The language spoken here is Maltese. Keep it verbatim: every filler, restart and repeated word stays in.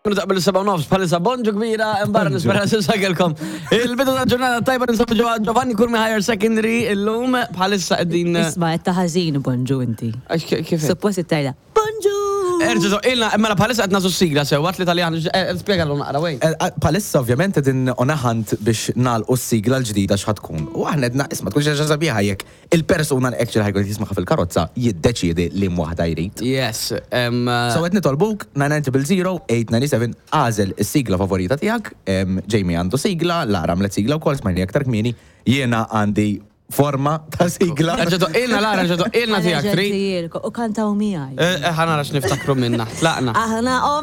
Minuta qabel seba' nofs, bħalissa bonġu kbira, imbarra nispera s-sakelkom. Il-bidu ta' ġurnata tajba, ninsabu ġewwa Giovanni Curmi Higher Secondary illum, bħalissa qegħdin. Isma', qed ta' ħażin bonġu inti. Għax kif? Suppost tgħidha bonġu! Erġa' ilna, mela bħalissa qed nagħżlu sigla sew, għat li tal spjega l naqra wejn. Bħalissa ovvjament qegħdin on a hunt biex nagħlqu s-sigla l-ġdida x'ħa tkun. U aħna għedna, isma', tkun xi ħaġa sabiħa jekk il-persuna li actually ħa jkun jismagħha fil-karozza jiddeċiedi li waħda jrid. Yes. em, So qed nitolbuk nine nine zero zero eight nine seven, agħżel is-sigla favorita tiegħek. em, Jamie għandu sigla, Lara għamlet sigla wkoll, smajni aktar kmieni, jiena għandi forma ta' sigla. Erġa' ilna Lara, erġa' ilna tiegħek tri. U kantaw miegħi. Eh, ħa nara x'niftakru minna. Tlaqna. Aħna